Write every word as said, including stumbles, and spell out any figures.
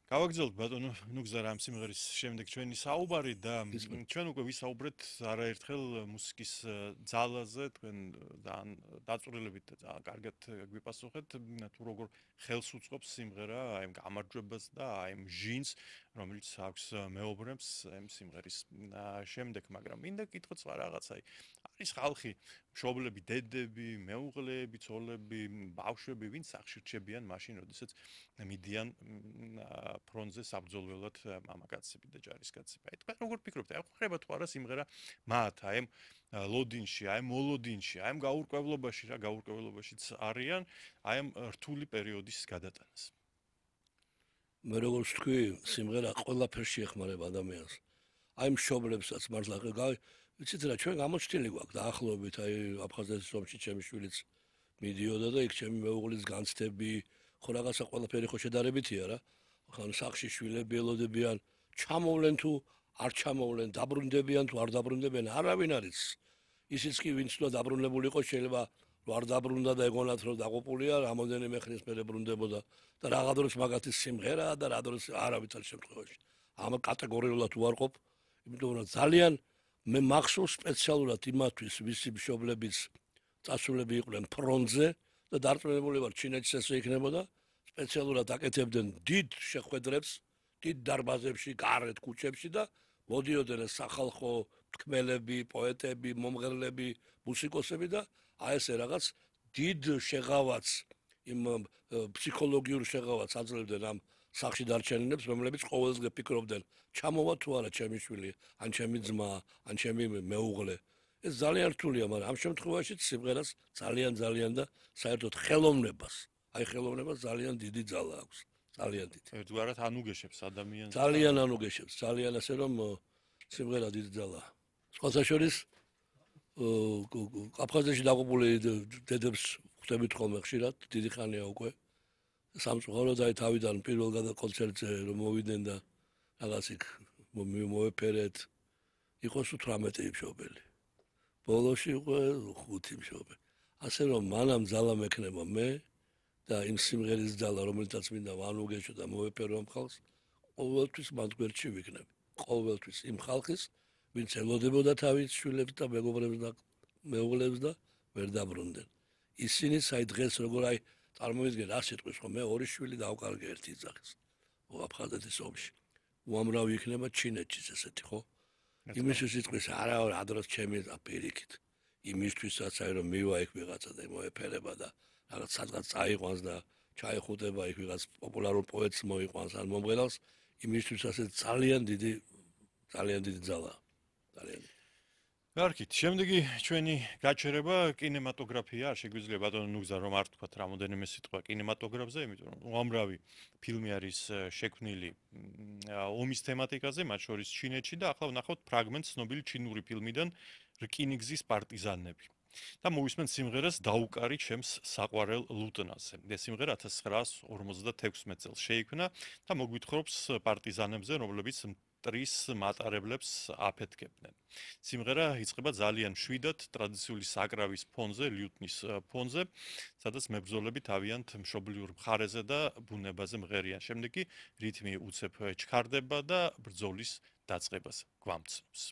გავაგრძელოთ ბატონო ნუგზარ ამ სიმღერის შემდეგ ჩვენი საუბარი და ჩვენ უკვე ვისაუბრეთ არაერთხელ მუსიკის ძალაზე, თქვენ ძალიან დაწვრილებით და ძალიან კარგად გვიპასუხეთ, თუ როგორ ხელს უწყობს სიმღერა აი ამ გამარჯვებას და აი ამ ჟინს, რომელიც აქვს მეობრებს ამ სიმღერის შემდეგ, მაგრამ მინდა კითხოთ სხვა რაღაცა. არის ხალხი, მშობლები, დედები, მეუღლეები, ცოლები, ბავშვები, ვინც სახში რჩებიან მაშინ, როდესაც მიდიან ფრონტზე საბრძოლველად მამაკაცები და ჯარისკაცები. აი თქვენ როგორ ფიქრობთ? აი ხდება თუ არა სიმღერა მათ აი ამ ლოდინში, აი მოლოდინში, აი ამ გაურკვევლობაში, რა გაურკვევლობაშიც არიან, აი ამ რთული პერიოდის გადატანას. მე როგორც თქვი, სიმღერა ყველაფერში ეხმარება ადამიანს. აი მშობლებსაც მართლა გავი ვიცით რა ჩვენ გამოჩნილი გვაქვს დაახლოებით აი აფხაზეთის ომში ჩემი შვილიც მიდიოდა და იქ ჩემი მეუღლის განცდები ხო რაღაცა ყველაფერი ხო შედარებითია რა ხან სახში შვილები ელოდებიან ჩამოვლენ თუ არ ჩამოვლენ დაბრუნდებიან თუ არ დაბრუნდებიან არავინ არის ისიც კი ვინც უნდა დაბრუნებული იყოს შეიძლება არ დაბრუნდა და ეგონათ რომ დაღუპულია რამოდენიმე ხნის მერე ბრუნდებოდა და რაღა დროს მაგათი სიმღერა და რა დროს არავითარ შემთხვევაში ამ კატეგორიულად უარყოფ იმიტომ რომ ძალიან მე მახსოვს სპეციალურად იმათვის ვისი მშობლებიც წასულები იყვნენ ფრონტზე და დარწმუნებული ვარ ჩინეთში ესე იქნებოდა სპეციალურად აკეთებდნენ დიდ შეხვედრებს დიდ დარბაზებში გარეთ ქუჩებში და მოდიოდნენ სახალხო თქმელები პოეტები მომღერლები მუსიკოსები და აი ესე რაღაც დიდ შეღავაც იმ ფსიქოლოგიურ შეღავაც აძლევდნენ ამ სახში დარჩენილებს რომლებიც ყოველდღე ფიქრობდნენ ჩამოვა თუ არა ჩემი შვილი ან ჩემი ძმა ან ჩემი მეუღლე ეს ძალიან რთულია მაგრამ ამ შემთხვევაში სიმღერას ძალიან ძალიან და საერთოდ ხელოვნებას აი ხელოვნებას ძალიან დიდი ძალა აქვს ძალიან დიდი ერთგვარად ანუგეშებს ადამიანს ძალიან ანუგეშებს ძალიან ასე რომ სიმღერა დიდი ძალაა სხვათა შორის აფხაზეთში დაღუპული დედებს ხვდებით ხოლმე ხშირად დიდი ხანია უკვე სამწუხაროდ აი თავიდან პირველ კონცერტზე რომ მოვიდნენ და რაღაც იქ მოეფერეთ იყოს ութრამეტი მშობელი ბოლოში უკვე ხუთი მშობელი ასე რომ მანამ ძალა მექნება მე და იმ სიმღერის ძალა რომელიცაც მინდა ვანუგეშო და მოეფერო ამ ხალხს ყოველთვის მათ გვერდში ვიქნები ყოველთვის იმ ხალხის ვინც ელოდებოდა თავის შვილებს და მეგობრებს და მეუღლებს და ვერ დაბრუნდნენ ისინი საი დღეს როგორ აი წარმოვიდგენ რა სიტყვის ხო მე ორი შვილი დავკარგე ერთი ძაღლს აფხაზეთის ომში უამრავი იქნება ჩინეთშიც ესეთი ხო იმისთვის სიტყვის არა რა დროს ჩემი აპირიქით იმისთვისაც აი რომ მივა იქ ვიღაცა და მოეფერება და რაღაც სადღაც წაიყვანს და ჩაიხუტება იქ ვიღაც პოპულარულ პოეტს მოიყვანს ან მომღერალს იმისთვის ასე ძალიან დიდი ძალიან დიდი ძალაა ძალიან გარკით, შემდეგი ჩვენი გაჩერება კინემატოგრაფია, არ შეგვიძლია ბატონო ნუგზა რომ არ თქვათ რამოდენიმე სიტყვა კინემატოგრაფზე, იმიტომ რომ უამრავი ფილმი არის შექმნილი ომის თემატიკაზე, მათ შორის ჩინეთში და ახლა ვნახავთ ფრაგმენტს ცნობილი ჩინური ფილმიდან რკინიგზის პარტიზანები. და მოვისმენთ სიმღერას დაუკარი ჩემს საყვარელ ლუტნაზე. ეს სიმღერა ათას ცხრაას ორმოცდათექვსმეტ წელს შეიქმნა და მოგვითხრობს პარტიზანებზე, რომლებიც ტრის მატარებლებს აფეთქებდნენ. სიმღერა იწყება ძალიან მშვიდად ტრადიციული საკრავის ფონზე, ლიუტნის ფონზე, სადაც მებრძოლები თავიანთ მშობლიურ მხარეზე და ბუნებაზე მღერიან. შემდეგ კი რითმი უცებ ჩქარდება და ბრძოლის დაწყებას გვამცნობს.